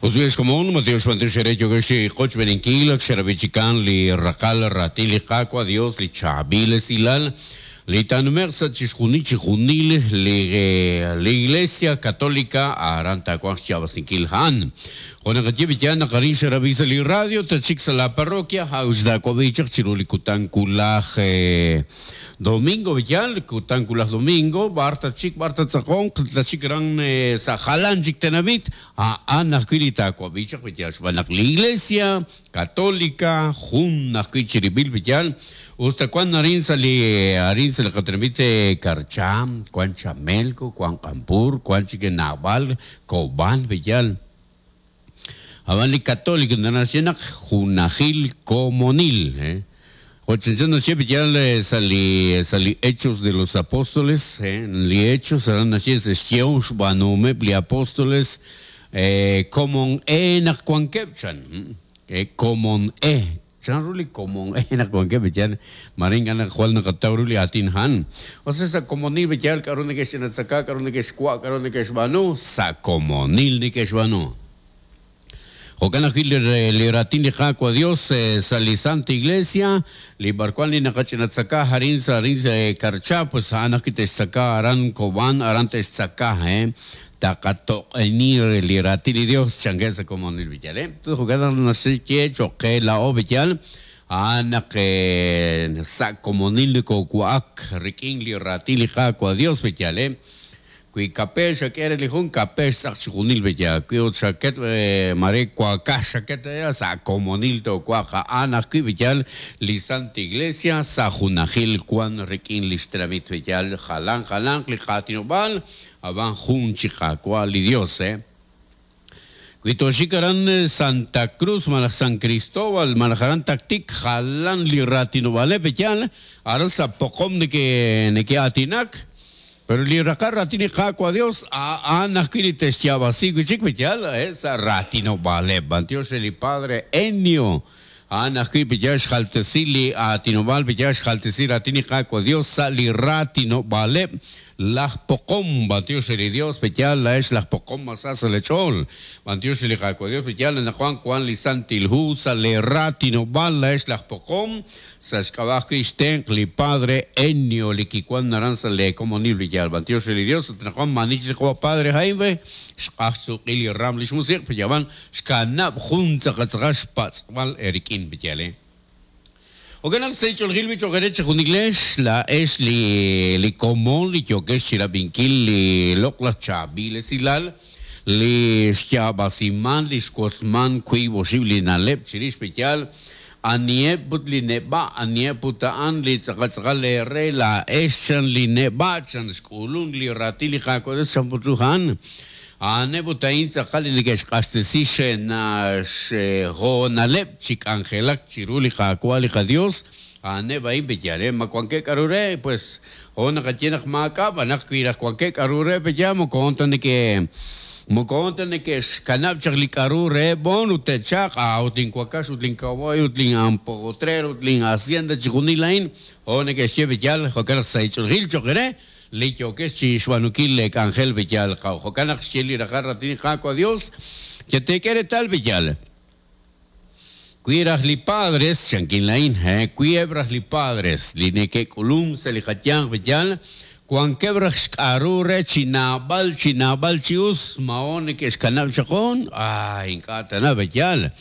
Us xkomon, Mateo Xb'antiox eere yookex chi qochb'eeninkil, ak xerab'i chikan li raqal raatin li Qaawa' Dios, li chaab'il esilal, li taanume'q sa' chixjunil chijunil li li Iglesia Católica aran taawanq xyaab'asinkil a'an. Jo' naqaye b'iyaan naq arin xerab'i sa' li radio, tatxik sa' la parroquia, a'ut taawab'i chaq chiru li kutan wulaj domingo b'iyaan, kutan wulaj domingo, b'ar tatxik, b'ar tattz'aqonq, tatxik aran sa' jalan chik tenamit, a'an ajwi' li taawab'i chaq b'iyaan xb'aan naq li Iglesia Católica jun ajwi' chirib'il b'iyaan, us ta wan arin sa' li arin sa' li qatenamit Karcha, wan Chamelco, wan Q'ampur, wan chik naab'al, Kob'an b'iyaan. Ab'an li Católico naxye naq junajil komonil, Jo' chanchan naxye b'iyaan sa' li Hechos de los Apóstoles, li Hechos aran naxye sa' xyehom xb'aanuhomeb' li apóstoles, komon e naq wankeb' chan, komon e. Chanru li komon e naq wankeb' b'iyaan, mare ink'a' naq jwal naqataw ru li aatin a'an. O sea, sa' komonil b'iyaan k'a'ru neke'xch'inatzaka, k'a'ru neke'xwa', k'a'ru neke'xb'aanu, sa' komonil neke'xb'aanu. Jo'kan ajwi' li raatin li Qaawa' Dios sa' li Santa Iglesia, li b'arwan li naqach'inatzaka arin sa' arin Karcha, pues a'an ajwi' te'xtzaka aran Kob'an, aran te'xtzaka, taqatoq'eni li raatin li Dios chankeb' sa' komonil b'iyaan, Jo'kan naq naxye cho'q qe laa'o b'iyaan, a'an naq sa' komonil nokowa'ak rik'in li raatin li Qaawa' Dios b'iyaan, Wi kape xak'e re li jun, kape xtz'aq chixjunil b'iyaan. Wi ut xaket mare wakax xaket sa' komonil toowa'aq a'an ajwi' b'iyaan li Santa Iglesia sa' junajil wan rik'in li xtenamit b'iyaan jalan jalanq li qaatinob'aal ab'an jun chi Qaawa' li Dios, Wi tooxik aran Santa Cruz malaj San Cristóbal malaj aran Tactic jalan li raatinob'aaleb' b'iyaan aran sa' poqom neke neke'aatinak, pero li raqal raatin li Qaawa' Dios a'an ajwi' li te'xyaab'asi wi' chik b'iyaan sa' raatinob'aaleb'. B'antiox re li Padre Ennio, a'an ajwi' b'iyaan xjaltesi li aatinob'aal b'iyaan xjaltesi raatin li Qaawa' Dios sa' li raatinob'aaleb' laj poqom. B'antiox re li Dios b'iyaan laa'ex laj poqom mas sa sa' leech'ool. B'antiox re li Qaawa' Dios b'iyaan anaqwan wan li Santil Hu sa' lee raatinob'aal laa'ex laj poqom sa' xk'ab'a' ajwi' xtenq' li Padre Ennio li kiwan aran sa' lee komonil b'iyaan. B'antiox re li Dios ut anaqwan maani chik li qawa' Padre Jaime xq'aj xsuq'il li ram li xmusiq' b'iyaan xkanab' jun tz'aqal xpatz'b'al erik'in b'iyaan. Jo'kan naq sa' ch'oolejil b'i cho'q eere chejunilex laa'ex li li komon li yookex chirab'inkil li loq'laj chaab'il esilal, li xyaab'asiman, li xwotzman wiib' oxib' li na'leb' chirix b'iyaan aniheb' ut li neb'a', aniheb' ut a'an li tz'aqal tz'aqal eere laa'ex chan li neb'a' chan xk'ulunk li raatin li Qaawa' Dios chan put ru a'an. A'aneb' ut a'in tz'aqal li neke'xq'axtesi xhoonaleb' chi k'anjelak chiru li Qaawa' li qaDios, a'aneb' a'in b'iyaan, ma wankeb' k'a'ru re, pues jo' naqaye naq maak'a', b'an naq wi raj wankeb' k'a'ru re b'iyaan moko hoon ta neke' moko hoon ta neke'xkanab' chaq li k'a'ru reheb' b'on ut te'chaq, a'ut linwakax ut linkawaay ut lin'ampotrer ut linhacienda chixjunil a'in jo' neke'xye b'iyaan, jo'kan naq sa' ch'oolejil cho'q eere li yookex chi xb'aanunkil leek'anjel b'iyaan qaw. Jo'kan naq xye li raqal raatin li Qaawa' Dios, Cheteek'e reetal b'iyaan. Wi raj li padres, chankin laa'in, wi eb' raj li padres li neke'k'ulunk sa' li qayanq b'iyaan, wankeb' raj xk'a'ru re chi naab'al chi naab'al chi us, ma hoon neke'xkanab' chaq hoon? Ay, ink'a' tana b'iyaan.